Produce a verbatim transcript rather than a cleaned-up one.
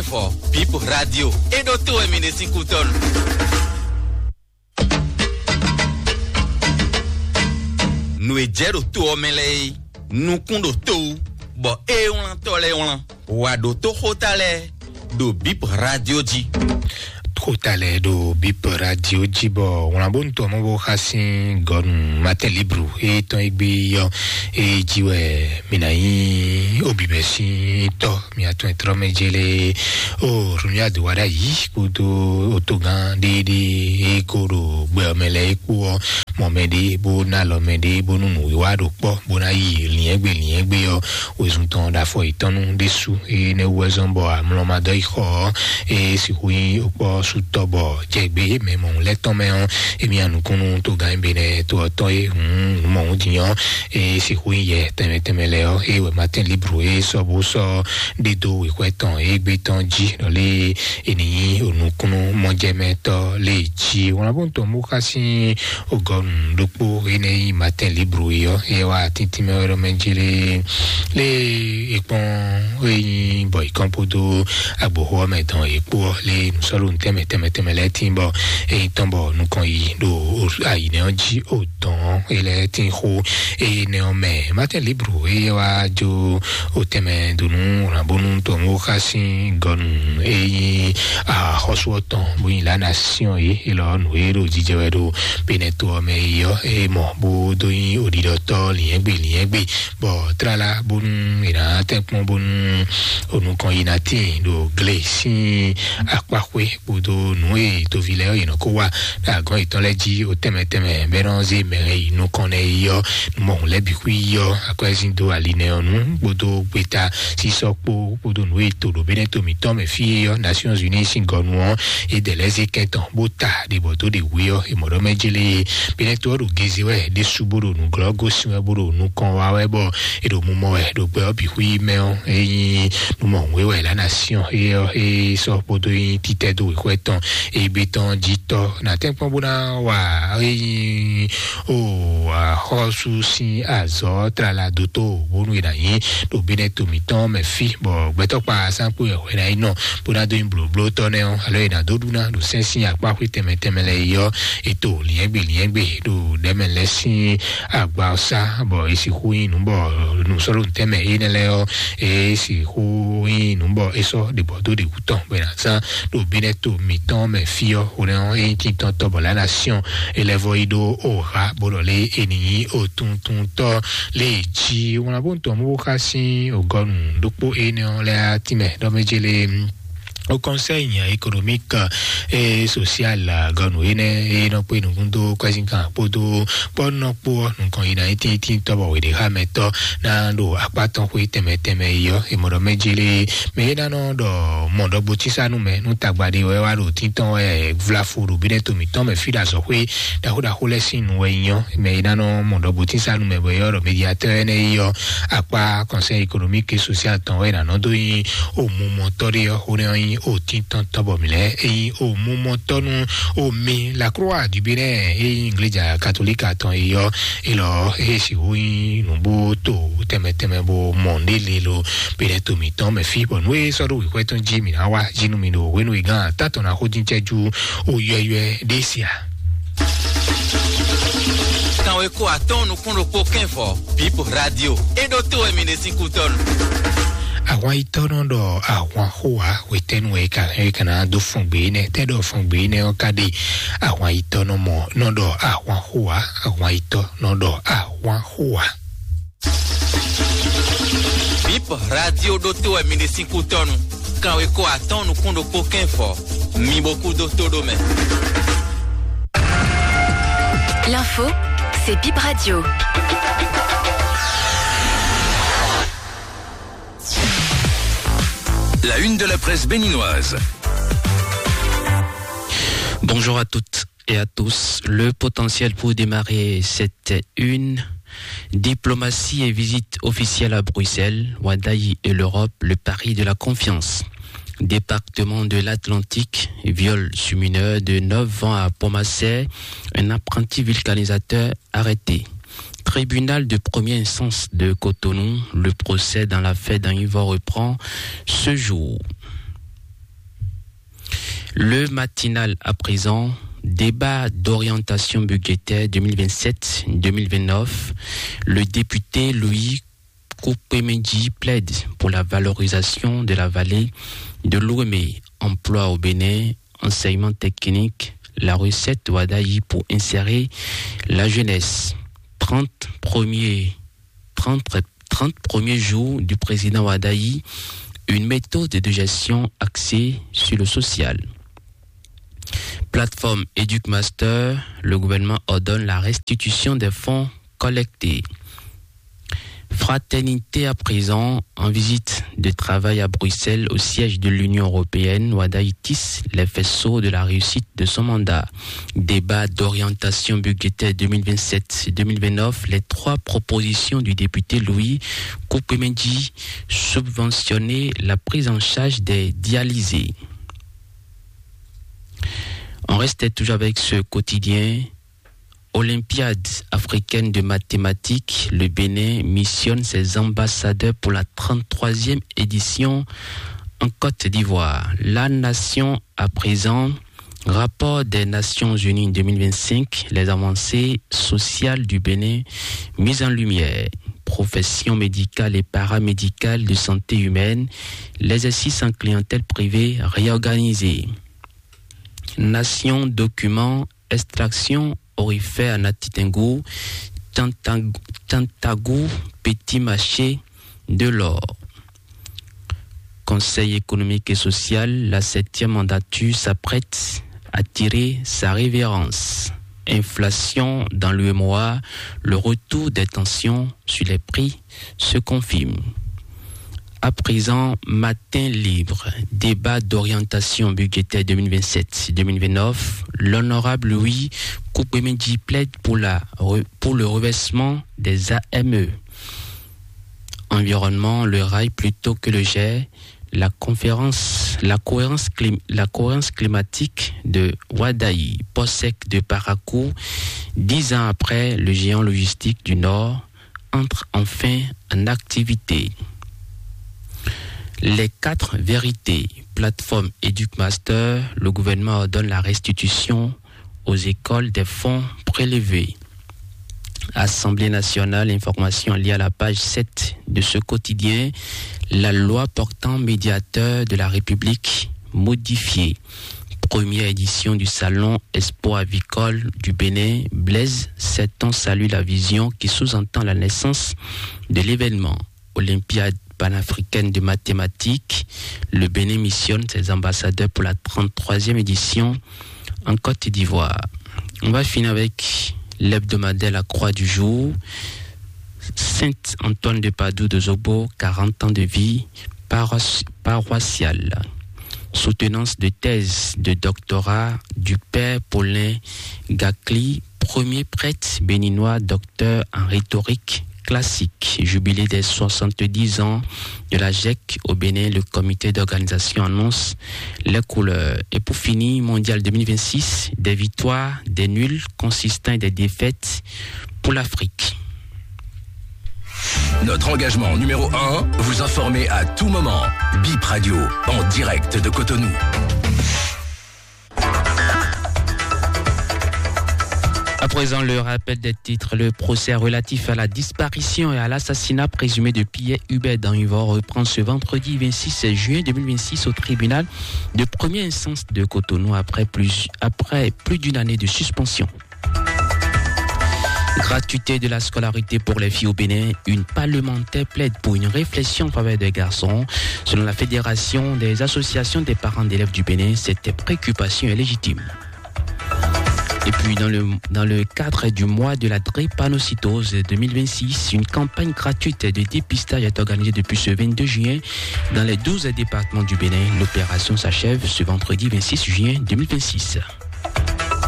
Fɔ Bip Radio. E ɖo to wɛ mi ɖe sín kútɔ́nu. Nǔ e jɛ ɖo to ɔ́ mɛ lɛ́ɛ é, nukún ɖo to wú, bɔ ée wlántɔ́ lɛ́ɛ wlán. Wǎ ɖo tó xóta lɛ́ɛ ɖo Bip Radio jí. Xóta lɛ́ɛ ɖo Bip Radio jí bɔ wlán bó nu tɔ mɔ bó xa sín gɔnu Matin Libre e tɔn e gbé yɔ e jí wɛ mi ná nyí obibɛ sín tɔ mi atɔn e trɔ mɛ jele o rúnyà dó wá ɖ'ayǐ kpódó otogán ɖéɖé e kó ɖo gbɛ ɔ́ mɛ lɛ́ɛ é kpó ɔ́ mɔ mɛ ɖé bó ná lɔ mɛ ɖé bónú nǔwiwa ɖo kpɔ́ bó ná yi liɛ́ngbé liɛ́ngbé ɔ́ wezun tɔn ɖo afɔ yětɔn nu ɖésú. Énɛ́ wú wɛ zɔ́n bɔ amlɔ ma dɔ yi xɔ ɔ́, é sixú nyí okpɔ́ sú tɔ bɔ jɛ gbé mɛ mɔ̌hun lɛ́ɛ tɔn mɛ ɔ́, émí anukúnnú togán e be nɛ to ɔ́ tɔn é hǔn nǔ mɔ̌hun din ɔ́, é sixú nyí yɛ tɛnmɛ tɛnmɛ lɛ́ɛ ɔ́, é wɛ Matin Libre é sɔ́ bó sɔ́ ɖidó wěxwɛ́ tɔn é gbé tɔn jí ɖɔ lé é ní nyí onukúnnú mɔjɛmɛtɔ́ lé jí. Wlán bó tɔn mú xá sín ogɔnu ɖokpó énɛ́ nyí Matin Libre é ɔ́, é wá tíntín mɛ wɛ ɖɔ mɛ jí lé lé é kpɔ́n é nyí bɔ é kɔn kpódó agboxó ɔ́ mɛ dɔn é kpó ɔ́ lé nǔsɔ́lú tɛnmɛ tɛnmɛ tɛnmɛ lɛ́ɛ tín bɔ é nyí tɔn bɔ nukɔn yi ɖo ayǐnɛ ɔ́ jí o dɔn é lɛ́ɛ tín xó énɛ́ ɔ́ mɛ. Matin Libre é wá jó o tɛnmɛ donu rǎnbónú tɔn wó xá sín gɔnu é nyí axɔ́sú ɔ́ tɔn bó nyí lǎ nasiɔn é é lɔ nǔ e ɖo jijɛ wɛ ɖo Benɛto ɔ́ mɛ é ɔ́ é mɔ bó dó nyí oɖiɖɔtɔ́ lǐnyɛ́gbe lǐnyɛ́gbe bɔ tlala bónú è nǎ tɛ́nkpɔ́n bónú onukɔn yi ná tíin ɖo gle sín akpáxwé kpódó nǔ e toví lɛ́ɛ ɔ́ yě nɔ kó wa ɖo agɔ̌n yětɔn lɛ́ɛ jí o tɛnmɛ tɛnmɛ bɔ é nɔ zé mɛ e yi nukɔn nɛ́ é ɔ́ nú mɔ̌hun lɛ́ɛ bǐ xwí ɔ́ akwɛ́zín dó ali nɛ́ ɔ́ nú kpódó gbeta sísɔ́ kpó kpódó nǔ e to ɖo Benɛto mǐtɔn mɛ fí é ɔ́ Nations Unies sín gɔnu ɔ́ é dɛ lɛ́ zé kɛn tɔn bó ta ɖě bɔ dó ɖě hwe ɔ́ è mɔ ɖɔ mɛ jélé Benɛto ɔ́ ɖo geze wɛ ɖésú bó ɖo nǔglɔ́ gosín wɛ bó ɖo nukɔn wa wɛ bɔ è ɖo mumɔ wɛ ɖo gbɛ ɔ́ bǐ xwí mɛ ɔ́ é nyí nú mɔ̌hun é wɛ è lǎ ná syɔ́n é ɔ́ é sɔ́ kpódó nyí títɛ́ dó wěxwɛ́ tɔn égbé tɔn jí tɔ́ nǎ tɛ́nkpɔ́n bó ná wa é nyí o axɔ́sú sín azɔ̌ tlala dótó bónú è nǎ nyí ɖo Benɛto mǐtɔn mɛ fí bɔ gbɛtɔ́kpa sánkpó wɛ hwɛ ná yi nɔ bó ná dó nyí blǒblótɔ́ nɛ́ ɔ́ alo è nǎ dó ɖu ná ɖo sɛ́n sín akpá xwé tɛnmɛ tɛnmɛ lɛ́ɛ yi ɔ́ è to lǐnyɛ́gbe lǐnyɛ́gbe ɖo ɖɛ̌mɛ lɛ́ɛ sín agba ɔ́ sá bɔ è sixú nyí nǔ bɔ nǔsɔ́ɖónútɛ́mɛ énɛ́ lɛ́ɛ ɔ́ è sixú nyí nǔ bɔ è sɔ́ ɖě bɔ dó ɖě wú tɔn bɔ è nǎ zán ɖo Benɛto mǐtɔn mɛ fí ɔ́. Hwenɛ́ ɔ́, é nyí títɔ́ntɔ́ bɔ lǎ ná syɔ́n é lɛ́ vɔ yi ɖó oha bó ɖɔ lé è nǐ nyí otuntúntɔ́ lé jí. Wlán bó ń tɔn mú bó xá sín ògɔnu ɖokpó énɛ́ ɔ́ lɛ́ɛ tínmɛ ɖɔ mɛ jélé au Conseil économique et social gɔnu énɛ́ e nɔ kpé nukún dó kwɛ́sínkan kpódó kpɔ́nɔkpó ɔ́ nukɔn yi ná tíntíntín tɔ́ bɔ wěɖé xá mɛtɔ́ ná ɖo akpá tɔn xwé tɛnmɛ tɛnmɛ yi ɔ́, è mɔ ɖɔ mɛ jélé mɛ é ná nɔ ɖɔ mɔ ɖɔgbo tísánú mɛ nú tagba ɖé wɛ wá ɖo tíntɔn wɛ vlafo ɖo bínɛ́ to mǐtɔn mɛ fí ɖo azɔ̌xwé ɖaxó ɖaxó lɛ́ɛ sín nu wɛ nyí ɔ́, mɛ é ná nɔ mɔ ɖɔgbo tísánú mɛ bɔ é ɔ́ ɖɔ médiatɔ́ énɛ́ yi ɔ́ akpá Conseil économique et social tɔn wɛ è nǎ nɔ dó nyí omumɔtɔ́ ɖé ɔ́, xó nɛ́ ɔ́ nyí òtíntɔ́ntɔ́ bɔ mǐ lɛ́ɛ é nyí omumɔtɔ́ nú omi la croix du Bénin é nyí igleja katolíka tɔn é ɔ́, é lɔ é sixú nyí nǔbútó tɛnmɛ tɛnmɛ bó mɔ ndé lelo Bénin to mǐtɔn mɛ fí bɔ nú é sɔ́ ɖó wěxwɛ́ tɔn jí mǐ ná wá jí nú mi ɖo hwenu e gán tátɔn ná xó dín cɛ́jú ó yɔ́yɔ́ ɖé sia. Kanweko atɔ́ɔ́n nukún ɖokpó kɛ́nfɔ Bip Radio é ɖó tó wɛ mi ɖe sín kútɔ́nu. Ahwan yitɔ́ nɔ ɖɔ ahwan xó wá hwetɛ́nu wɛ é ka hɛn é ka ná dó fɔn gbě énɛ́ tɛ́ ɖɔ fɔn gbě énɛ́ ɔ́ ka ɖe. Ahwan yitɔ́ nɔ mɔ nɔ ɖɔ ahwan xó wá ahwan yitɔ́ nɔ ɖɔ ahwan xó wá. Bip Radio ɖó tó wɛ mi ɖe sín kútɔ́nu. Kanweko atɔ́ɔ́n nukún ɖokpó kɛ́nfɔ mi bo kú dó tó ɖó mɛ. L'info, c'est Bip Radio. La une de la presse béninoise. Bonjour à toutes et à tous. Le potentiel pour démarrer cette une, diplomatie et visite officielle à Bruxelles, Wadaï et l'Europe, le pari de la confiance. Département de l'Atlantique, viol sur mineur de neuf ans à Pomassé, un apprenti vulcanisateur arrêté. Tribunal de première instance de Cotonou, le procès dans l'affaire d'Anivor reprend ce jour. Le matinal à présent, débat d'orientation budgétaire deux mille vingt-sept deux mille vingt-neuf. Le député Louis Koukpemedji plaide pour la valorisation de la vallée de l'Ouémé, emploi au Bénin, enseignement technique, la recette Wadayi pour insérer la jeunesse. Trente premiers, trente, trente premiers jours du président Wadayi, une méthode de gestion axée sur le social. Plateforme Educmaster, le gouvernement ordonne la restitution des fonds collectés. Fraternité à présent, en visite de travail à Bruxelles au siège de l'Union européenne, Wadayi tisse les faisceaux de la réussite de son mandat. Débat d'orientation budgétaire deux mille vingt-sept deux mille vingt-neuf, les trois propositions du député Louis Koukpemedji, subventionner la prise en charge des dialysés. On reste toujours avec ce quotidien. Olympiade africaine de mathématiques, le Bénin missionne ses ambassadeurs pour la trente-troisième édition en Côte d'Ivoire. La nation à présent, rapport des Nations Unies deux mille vingt-cinq, les avancées sociales du Bénin mises en lumière, professions médicales et paramédicales de santé humaine, l'exercice en clientèle privée réorganisé. Nation document, extraction aurifère à Natitingou, Tantag-, Tantagou, petit marché de l'or. Conseil économique et social, la septième mandature s'apprête à tirer sa révérence. Inflation dans l'U M O A, le retour des tensions sur les prix se confirme. À présent, Matin Libre, débat d'orientation budgétaire deux mille vingt-sept deux mille vingt-neuf, l'honorable Louis Koukpemedji plaide pour la re-, pour le reversement des A M E. Environnement, le rail plutôt que le jet, la conférence, la cohérence clim-, la cohérence climatique de Wadayi, port sec de Parakou, dix ans après, le géant logistique du Nord entre enfin en activité. Les quatre vérités, plateforme Educmaster, le gouvernement ordonne la restitution aux écoles des fonds prélevés. Assemblée nationale, information liée à la page sept de ce quotidien, la loi portant médiateur de la République modifiée. Première édition du salon Expo avicole du Bénin, Blaise Septon salue la vision qui sous-entend la naissance de l'événement. Olympiade panafricaine de mathématiques, le Bénin missionne ses ambassadeurs pour la trente-troisième édition en Côte d'Ivoire. On va finir avec l'hebdomadaire La Croix du Jour. Saint Antoine de Padoue de Zogbo, quarante ans de vie paroiss-, paroissiale. Soutenance de thèse de doctorat du père Paulin Gakli, premier prêtre béninois, docteur en rhétorique classique. Jubilé des soixante-dix ans de la GEC au Bénin, le comité d'organisation annonce les couleurs. Et pour finir, Mondial deux mille vingt-six, des victoires, des nuls consistants et des défaites pour l'Afrique. Notre engagement numéro un, vous informer à tout moment. Bip Radio, en direct de Cotonou. À présent, le rappel des titres. Le procès relatif à la disparition et à l'assassinat présumé de Pierre Hubert Danhivor reprend ce vendredi vingt-six juin deux mille vingt-six au tribunal de première instance de Cotonou après plus, après plus d'une année de suspension. Gratuité de la scolarité pour les filles au Bénin, une parlementaire plaide pour une réflexion en faveur des garçons. Selon la Fédération des associations des parents d'élèves du Bénin, cette préoccupation est légitime. Et puis, dans le, dans le cadre du mois de la drépanocytose deux mille vingt-six, une campagne gratuite de dépistage est organisée depuis ce vingt-deux juin dans les douze départements du Bénin. L'opération s'achève ce vendredi vingt-six juin deux mille vingt-six.